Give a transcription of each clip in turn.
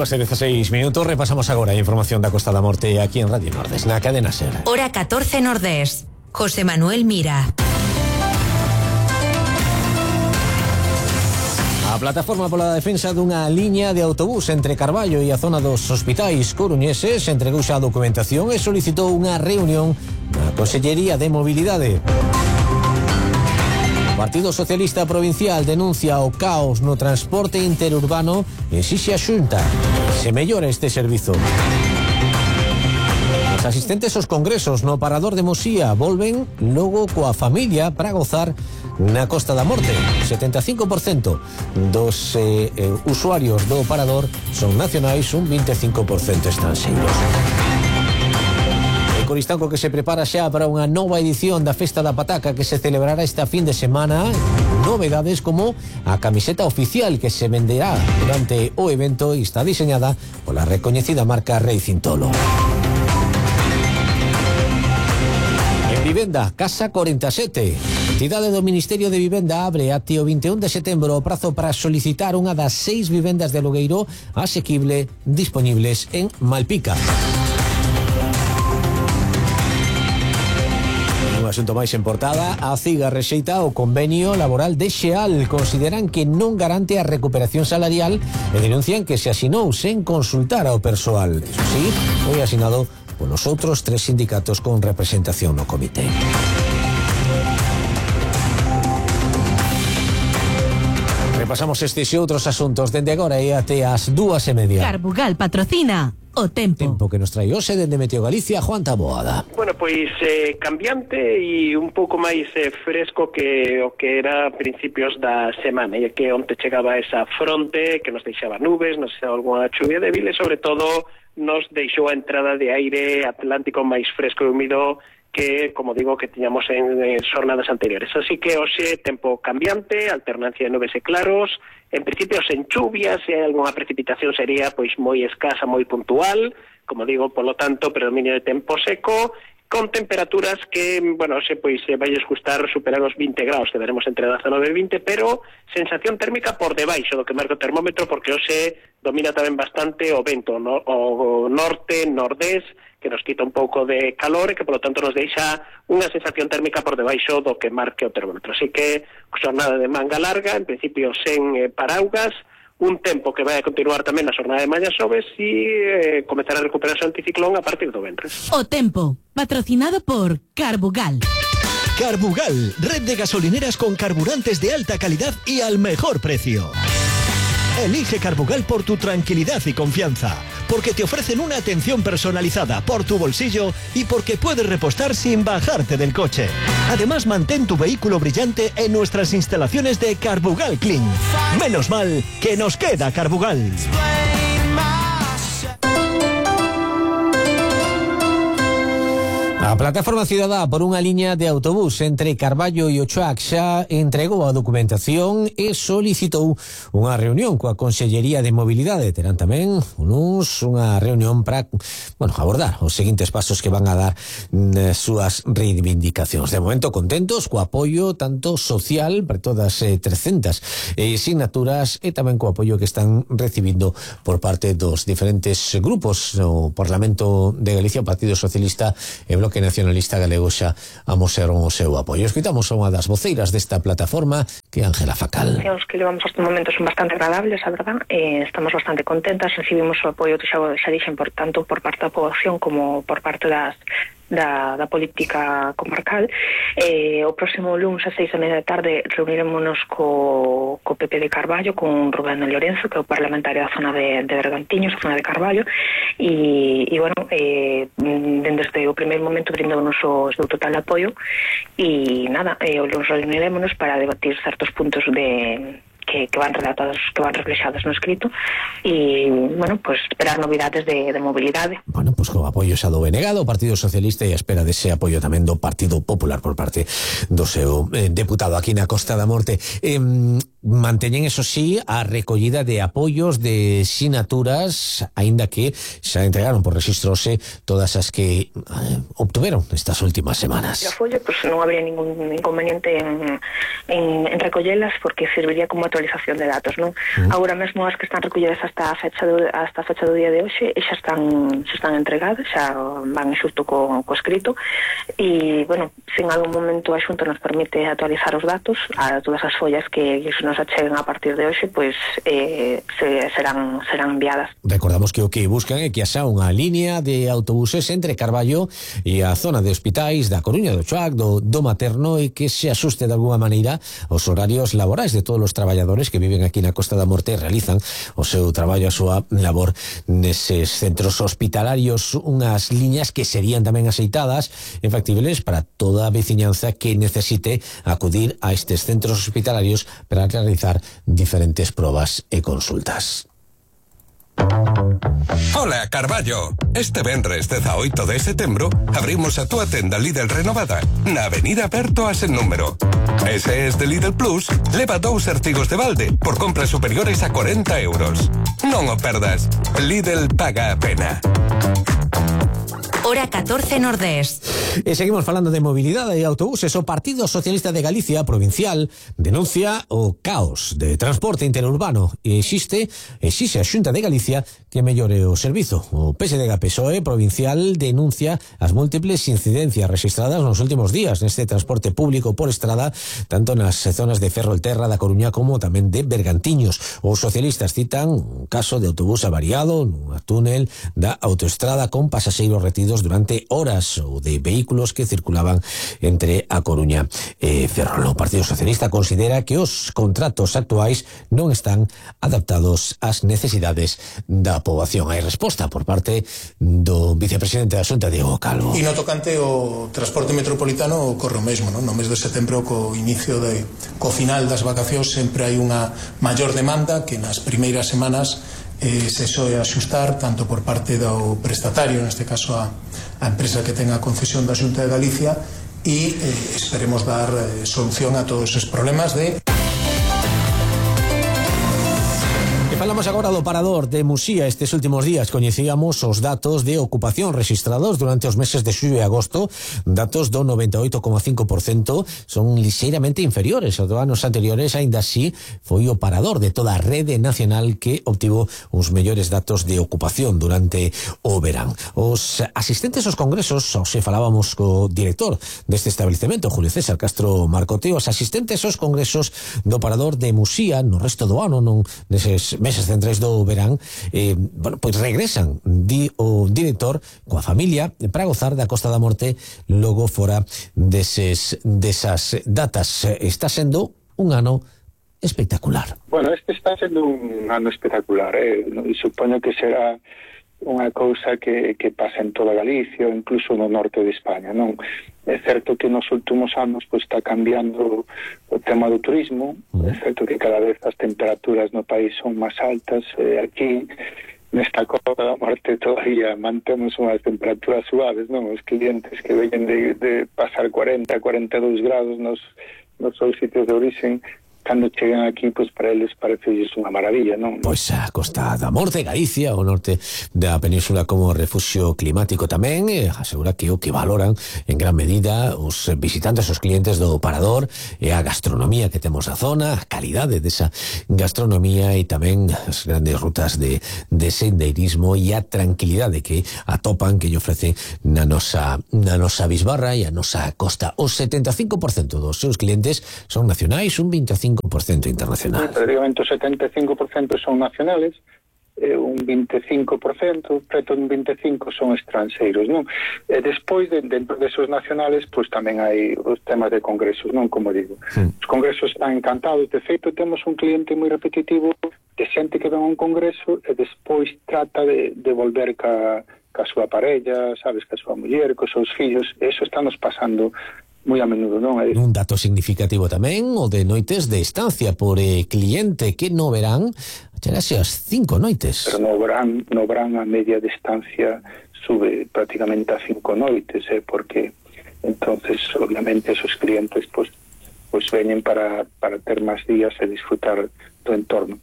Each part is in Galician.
2:16, repasamos agora a información da Costa da Morte aquí en Radio Nordés, na cadena SER. Hora 14 Nordés. José Manuel Mira. A plataforma pola defensa dunha liña de autobús entre Carballo e a zona dos hospitais coruñeses entregou xa a documentación e solicitou unha reunión na Consellería de Mobilidade. O Partido Socialista Provincial denuncia o caos no transporte interurbano e exixe a Xunta se mellora este servizo. Os asistentes aos congresos no Parador de Mosía volven logo coa familia para gozar na Costa da Morte. 75% dos usuarios do Parador son nacionais, un 25% estranxeiros. Coristanco que se prepara xa para unha nova edición da Festa da Pataca que se celebrará esta fin de semana. Novedades como a camiseta oficial que se venderá durante o evento e está diseñada pola recoñecida marca Rei Cintolo. En vivenda, Casa 47. A entidade do Ministerio de Vivenda abre até o 21 de setembro o prazo para solicitar unha das 6 vivendas de alugueiro asequible disponibles en Malpica. Asunto máis en portada, a CIGA rexeita o convenio laboral de Xeal. Consideran que non garante a recuperación salarial e denuncian que se asinou sen consultar ao persoal. Eso sí, foi asinado polos outros 3 sindicatos con representación no comité. Repasamos estes e outros asuntos dende agora e até as 2:30. Carbugal patrocina o tempo que nos trae hoxe dende Meteo Galicia, Juan Taboada. Bueno, pois cambiante e un pouco máis fresco que o que era a principios da semana, e que onte chegaba esa fronte que nos deixaba nubes, nos deixaba algunha chuvia débil e sobre todo nos deixou a entrada de aire atlántico máis fresco e húmido que, como digo, que tiñamos en xornadas anteriores. Así que hoxe tempo cambiante, alternancia de nubes e claros, en principio sen chuvias, e algunha precipitación sería pois moi escasa, moi puntual, como digo, polo tanto, predominio de tempo seco, con temperaturas que, bueno, se vai gustar superar os 20 graus, que veremos entre 19 e 20, pero sensación térmica por debaixo do que marca o termómetro, porque hoxe domina tamén bastante o vento, no? O norte, nordés, que nos quita un pouco de calor e que, polo tanto, nos deixa unha sensación térmica por debaixo do que marque o termómetro. Así que, xornada de manga larga, en principio sen paraugas, un tempo que vai a continuar tamén na xornada de mañá xoves e comezar a recuperarse o anticiclón a partir do venres. O tempo, patrocinado por Carbugal. Carbugal, red de gasolineras con carburantes de alta calidad y al mejor precio. Elige Carbugal por tu tranquilidad y confianza, porque te ofrecen una atención personalizada por tu bolsillo y porque puedes repostar sin bajarte del coche. Además, mantén tu vehículo brillante en nuestras instalaciones de Carbugal Clean. Menos mal que nos queda Carbugal. A Plataforma Cidadá por unha liña de autobús entre Carballo e Ochoac xa entregou a documentación e solicitou unha reunión coa Consellería de Mobilidade. Terán tamén unha reunión para, abordar os seguintes pasos que van a dar nas súas reivindicacións. De momento contentos co apoio tanto social para todas 300 signaturas e tamén co apoio que están recibindo por parte dos diferentes grupos. O Parlamento de Galicia, o Partido Socialista e Bloque Nacionalista Galego xa amosaron o seu apoio. Escoitamos a unha das voceiras desta plataforma, que é Ángela Facal. Os que levamos estes momentos son bastante agradables, a verdad. Estamos bastante contentas, recibimos o apoio, xa dixen, tanto por parte da poboación como por parte da política comarcal. O próximo lunes a 6:30 da tarde reunirémonos co PP de Carballo, con Rubén Lorenzo, que é o parlamentario da zona de Bergantiños, a zona de Carballo, e desde o primeiro momento brindounos o seu total apoio e nada, o lunes reunirémonos para debatir certos puntos que van redactados, que van reflexados no escrito e, esperar novidades de mobilidade. Co apoio xa do BNG, do Partido Socialista, e a espera dese apoio tamén do Partido Popular por parte do seu deputado aquí na Costa da Morte. manteñen, eso sí, a recollida de apoios de sinaturas, aínda que xa entregaron por registrose todas as que obtuveron estas últimas semanas. A folla, pues non habría ningún inconveniente en recollelas, porque serviría como actualización de datos, non? Agora mesmo as que están recolledas hasta a fecha do día de hoxe xa están entregadas, xa van xusto co escrito, e, bueno, se en algún momento a Xunta nos permite actualizar os datos a todas as follas que nos acheguen a partir de hoxe, pois serán enviadas. Recordamos que o que buscan é que haxa unha línea de autobuses entre Carballo e a zona de hospitais da Coruña, do Choac, do Materno, e que se asuste de alguma maneira os horarios laborais de todos os traballadores que viven aquí na Costa da Morte e realizan o seu traballo, a súa labor neses centros hospitalarios, unhas liñas que serían tamén aceitadas e factibles para toda a veciñanza que necesite acudir a estes centros hospitalarios para realizar diferentes probas e consultas. Ola, Carballo. Este venres 18 de setembro abrimos a túa tenda Lidl renovada na Avenida Berto a sen número. Ese es de Lidl Plus, leva 2 artigos de balde por compras superiores a 40 euros. Non o perdas. Lidl paga a pena. Hora 14 Nordés. E seguimos falando de mobilidade e autobuses. O Partido Socialista de Galicia provincial denuncia o caos de transporte interurbano e exixe a Xunta de Galicia que mellore o servizo. O PSDG-PSOE provincial denuncia as múltiples incidencias registradas nos últimos días neste transporte público por estrada, tanto nas zonas de Ferrolterra da Coruña como tamén de Bergantiños. Os socialistas citan un caso de autobús avariado no túnel da autoestrada con pasaxeiros retidos durante horas ou de vehículos que circulaban entre a Coruña e Ferrol. O Partido Socialista considera que os contratos actuais non están adaptados ás necesidades da poboación. Hai resposta por parte do vicepresidente da Xunta, Diego Calvo. E no tocante o transporte metropolitano ocorre o mesmo, non? No mes de setembro, co final das vacacións, sempre hai unha maior demanda que nas primeiras semanas se soe axustar tanto por parte do prestatario, neste caso a empresa que ten a concesión da Xunta de Galicia, e esperemos dar solución a todos os problemas de... Falamos agora do parador de Muxía. Estes últimos días coñecíamos os datos de ocupación registrados durante os meses de xullo e agosto. Datos do 98,5%, son lixeiramente inferiores aos anos anteriores. Aínda así, foi o parador de toda a rede nacional que obtivo os mellores datos de ocupación durante o verán. Os asistentes aos congresos, se falábamos co director deste establecemento, Julio César Castro Marcoteo, os asistentes aos congresos do parador de Muxía no resto do ano, non neses meses centrais do verán, pois regresan, di o director, coa familia para gozar da Costa da Morte logo fora desas datas. Está sendo un ano espectacular. Bueno, este está sendo un ano espectacular, supoño que será unha cousa que pasa en toda Galicia ou incluso no norte de España, non? É certo que nos últimos anos pois está cambiando o tema do turismo, é certo que cada vez as temperaturas no país son máis altas, aquí nesta Costa da Morte todavía mantemos unhas temperaturas suaves, non? Os clientes que veñen de pasar 40, 42 grados nos seus sitios de origen, cando chegan aquí, pois para eles parece unha maravilla, non? Pois a Costa da Morte, Galicia, o norte da península como refugio climático tamén, asegura que o que valoran en gran medida os visitantes, os clientes do parador, e a gastronomía que temos na zona, a calidade desa gastronomía e tamén as grandes rutas de sendeirismo e a tranquilidade que atopan, que lle ofrece na nosa bisbarra e a nosa costa. O 75% dos seus clientes son nacionais, un 25% internacional. Prácticamente o 75% son nacionales, un 25%, preto un 25% son estranxeiros, non? E despois, dentro desos nacionales, pois tamén hai os temas de congresos, non? Como digo. Os congresos están encantados. De feito, temos un cliente moi repetitivo de xente que ven a un congreso e despois trata de volver ca súa parella, sabes, ca súa muller, cos seus fillos. Eso estamos pasando moi a menudo, non? Un dato significativo tamén o de noites de estancia por cliente que no verán chegase as 5 noites. Pero no verán a media de estancia sube prácticamente a 5 noites, porque entonces obviamente esos clientes pues pois veñen para ter máis días e disfrutar do entorno.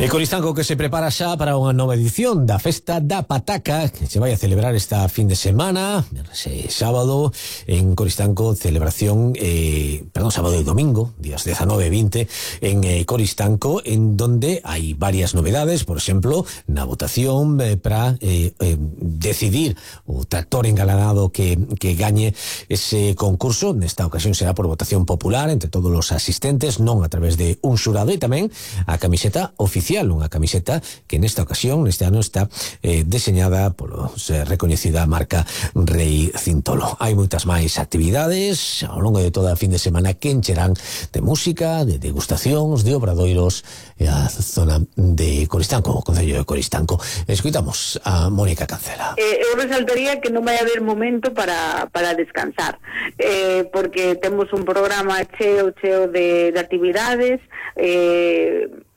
E Coristanco que se prepara xa para unha nova edición da Festa da Pataca que se vai a celebrar esta fin de semana, sábado en Coristanco, celebración sábado e domingo, días 19 e 20 en Coristanco, en donde hai varias novedades, por exemplo, na votación para decidir o tractor engalanado que gañe ese concurso. Nesta ocasión será por votación popular entre todos os asistentes, non a través de un xurado, e tamén a camiseta oficial, unha camiseta que nesta ocasión, neste ano, está deseñada polo recoñecida marca Rei Cintolo. Hai moitas máis actividades ao longo de toda a fin de semana que encherán de música, de degustacións, de obradoiros e a zona de Coristanco, o Concello de Coristanco. Escoitamos a Mónica Cancela. Eu resaltaría que non vai haber momento para descansar, porque temos un programa cheo de actividades,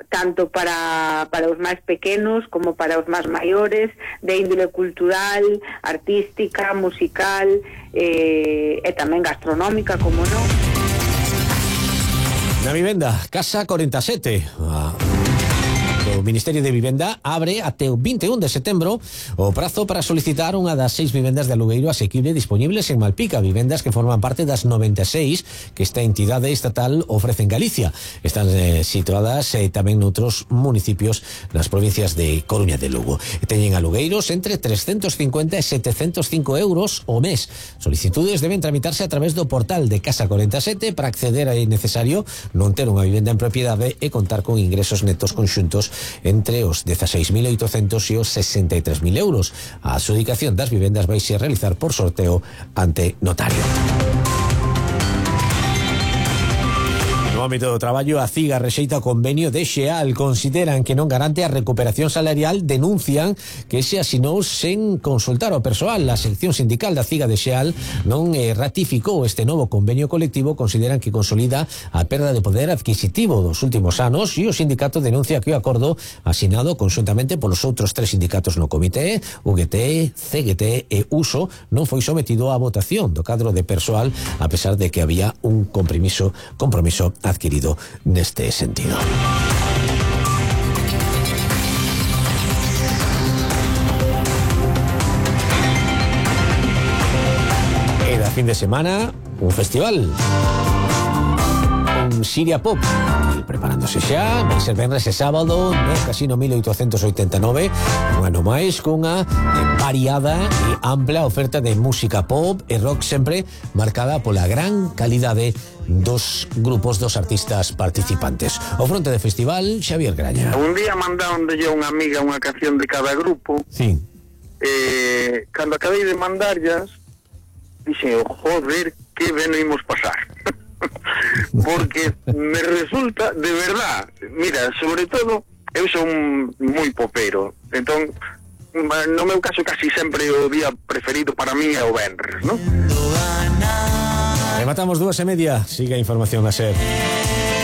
tanto para os máis pequenos como para os máis maiores, de índole cultural, artística, musical e tamén gastronómica, como non. Na vivenda, Casa 47, o Ministerio de Vivenda abre até o 21 de setembro o prazo para solicitar unha das 6 vivendas de alugueiro asequible disponibles en Malpica, vivendas que forman parte das 96 que esta entidade estatal ofrece en Galicia. Están situadas tamén noutros municipios nas provincias de Coruña e de Lugo. Teñen alugueiros entre 350 e 705 euros o mes. Solicitudes deben tramitarse a través do portal de Casa 47. Para acceder é necesario non ter unha vivenda en propiedade e contar con ingresos netos conxuntos entre os 16.800 e os 63.000 euros. A adxudicación das vivendas vai se realizar por sorteo ante notario. No ámbito do traballo, a CIGA rexeita o convenio de Xeal. Consideran que non garante a recuperación salarial, denuncian que se asinou sen consultar ao persoal. A sección sindical da CIGA de Xeal non ratificou este novo convenio colectivo. Consideran que consolida a perda de poder adquisitivo dos últimos anos e o sindicato denuncia que o acordo asinado conxuntamente polos outros 3 sindicatos no comité, UGT, CGT e USO, non foi sometido á votación do cadro de persoal, a pesar de que había un compromiso adquirido neste sentido. Era fin de semana un festival, un Siria Pop, preparándose xa, vai ser venres e sábado no Casino 1889, un ano máis cunha variada e ampla oferta de música pop e rock, sempre marcada pola gran calidade dos grupos, dos artistas participantes. Ao fronte do festival, Xavier Graña. Un día mandáronlle a unha amiga unha canción de cada grupo. Sí. Cando acabei de mandarllas, dixe, joder, que ben imos pasar. Porque me resulta, de verdad, mira, sobre todo, eu son moi popero, entón, no meu caso casi sempre o día preferido para mí é o venres, non? Rematamos 2:30, siga a información a ser.